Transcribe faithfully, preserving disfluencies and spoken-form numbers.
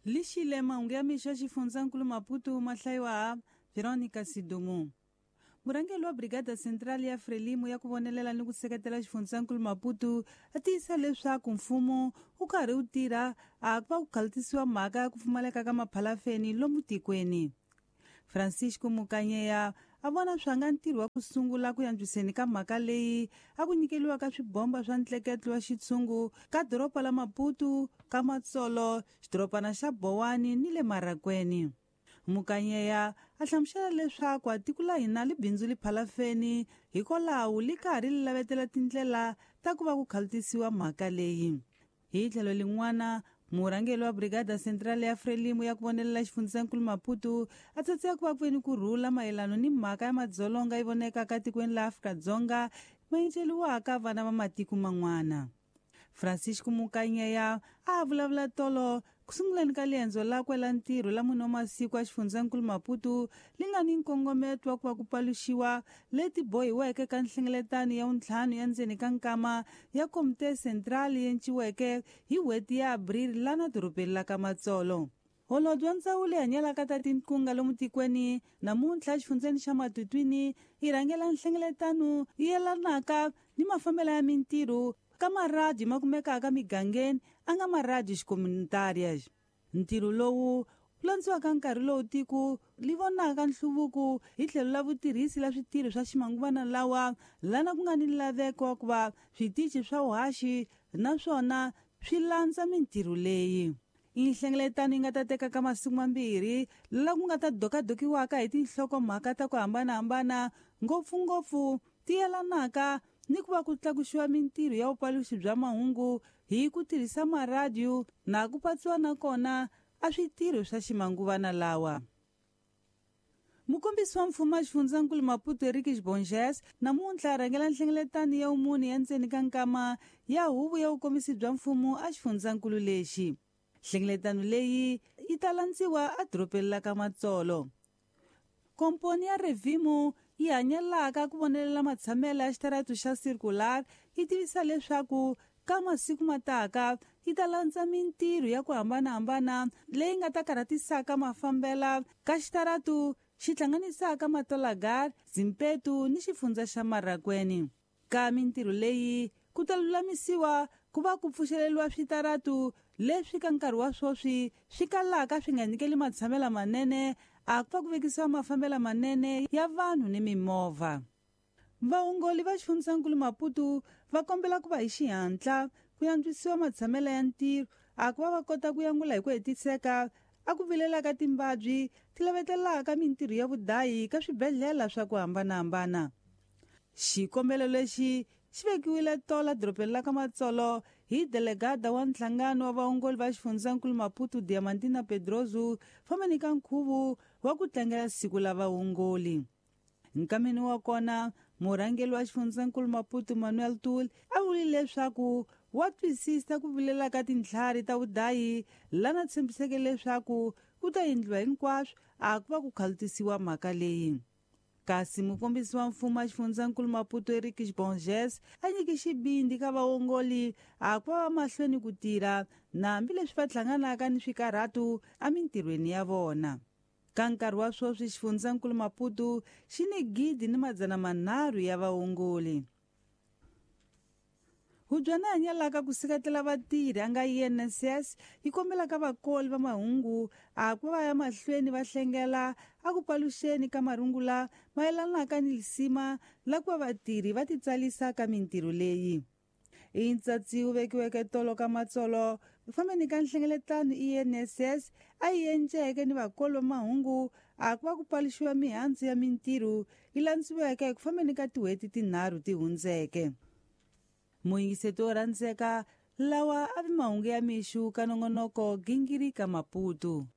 Lixile mahungu ya mixo ya xifundzankulu Maputo ma hlayiwa Veronica Sidumo. Murhangeri wa Brigada Central ya Frelimo ya ku vonelela ni ku seketela xifundzankulu Maputo a tiyisa leswaku mfumo wu karhi wu tirha a ku va ku khalutisiwa mhaka ya ku pfumaleka ka maphalafeni lomu tikweni. Francisco Mukanyeya a vona swa nga ntirho wa ku sungula ku antswiseni ka mhaka leyi a ku nyikeliwa ka swibomba swa ntleketlo wa xitshungu ka doroba la Maputo, ka Matsolo, xidorobana xa Bowani ni le Marakweni. Mukanyeya a hlamusela leswaku a tiko la hina li bindzu li phalafeni hikwalaho li karhi li lavetela tindlela ta ku va ku khalutisiwa mhaka leyi. Hi tlhelo lin'wana, murhangeri wa Brigada Central ya Frelimo ya ku vonelela xifundzankulu Maputo a tsatseka ku va ku veni ku rhula mayelano ni mhaka ya madzolonga yi vonekaka tikweni la Afrika-Dzonga ma enceliwaka vana va matiko man'wana. Francisco Mukanyeya a vulavula tolo ku sunguleni ka liendzo lakwe la ntirho la mune wa masiku a xifundzankulu Maputo li nga ni nkongometo wa ku va ku paluxiwa leti bohiweke ka nhlengeletano ya vuntlhanu ya ndzeni ka nkama ya Komite Central yi enciweke hi n'hweti ya Abril lana dorobeni la ka Matsolo. Holobye wa ndzawulo yi hanyelaka ta tinkunga lomu tikweni namuntlha exifundzeni xa Matutuini yi rhangela nhlengeletano yi yelanaka ni mafambelo ya mintirho ka maradiyo ma kumekaka migangeni a nga maradiyo xikomunitarias. Ntirho lowu wu landziwaka nkarhi lowu tiko li vonaka nhluvuko hi tlhelo la vutirhisi la switirho swa ximanguvana lawa lana ku nga ni laveko wa ku va switichi swa vuhaxi naswona swi landza mintirho leyi. Nhlengeletano yi nga ta teka ka masiku mambirhi la ku nga ta dokadokiwaka hi tinhlokomhaka ta ku hambanahambana ngopfungopfu ti yelanaka ni ku va ku tlakuxiwa mintirho ya vupaluxi bya mahungu hi ku tirhisa maradiyo na ku patsiwa na kona a switirho swa ximanguvana lawa. Mukombisi wa mfumo wa xifundzankulu Maputo Eric Bonges namuntlha a rhangela nhlengeletano ya vumune ya ndzeni ka nkama ya huvo ya vukombisi bya mfumo a xifundzankulu lexi. Nhlengeletano leyi yi ta landziwa edorobeni la ka Matsolo. Komponi ya Revimo yi hanyelaka ku vonelela matshamelo ya xitaratu xa circular yi tivisa leswaku ka masiku mataka yi ta landza mintirho ya ku hambanahambana leyi nga ta karhatisaka mafambela ka xitaratu xi hlanganisaka Matolagar, Zimpetu ni xifundza xa Marakweni. Ka mintirho leyi ku ta lulamisiwa ku va ku pfuxeleriwa switaratu leswi ka nkarhi wa sweswi swi kalaka swi nga nyikeli matshamelo manene a ku va ku vekisiwa mafambelo manene ya vanhu ni mimovha. Vaongoli va xifundzankulu Maputo va kombela ku va hi xihatla ku antswisiwa matshamelo ya ntirho a ku va va kota ku yangula hi ku hetiseka a ku vilelaka timbabyi ti lavetelaka mintirho ya vudayi ka swibedhlele swa ku hambanahambana. Xikombelo lexi xi vekiwile tola dorobeni la ka Matsolo hi delegada wa nhlangano wa vaongoli va xifundzankulu Maputo Diamantina Pedroso fambeni ka nkhuvo wa ku tlangela siku la vaongoli. Nkameni wa kona murhangeri wa xifundzankulu Maputo Manuel Tul a vurile leswaku wa twisisa ku vilela ka tintlhari ta vudayi lana tshembiseke leswaku ku ta endliwa hinkwaswo a ku va ku khalutisiwa mhaka leyi. Kasi mukombisi wa mfumo wa xifundzankulu Maputo Eric Bonges a nyike xibindi ka vaongoli a ku va mahlweni ku tirha na hambileswi va hlanganaka ni swikarhatu emintirhweni ya vona. Ka nkarhi wa sweswi xifundzankulu Maputo xi ni gidi ni madzana manharhu ya vaongoli. Hubyana hanyelaka ku seketela vatirhi a nga I N S S yi kombelaka vakoli va mahungu a ku va ya mahlweni va hlengela a ku paluxeni ka marungula mayelanaka ni lisima la ku va vatirhi va titsalisa ka mintirho leyi. I ntsatsi wu vekiweke tolo ka Matsolo fambeni ka nhlengeletano I N S S a yi enceke ni vakoli va mahungu a ku va ku paluxiwa mihandzu ya mintirho yi landziweke ku fambeni ka tin'hweti tinharhu ti hundzeke. Muyingiseti wo rhandzeka lawa a vi mahungu ya mixo ka nongonoko Gingirika Maputo.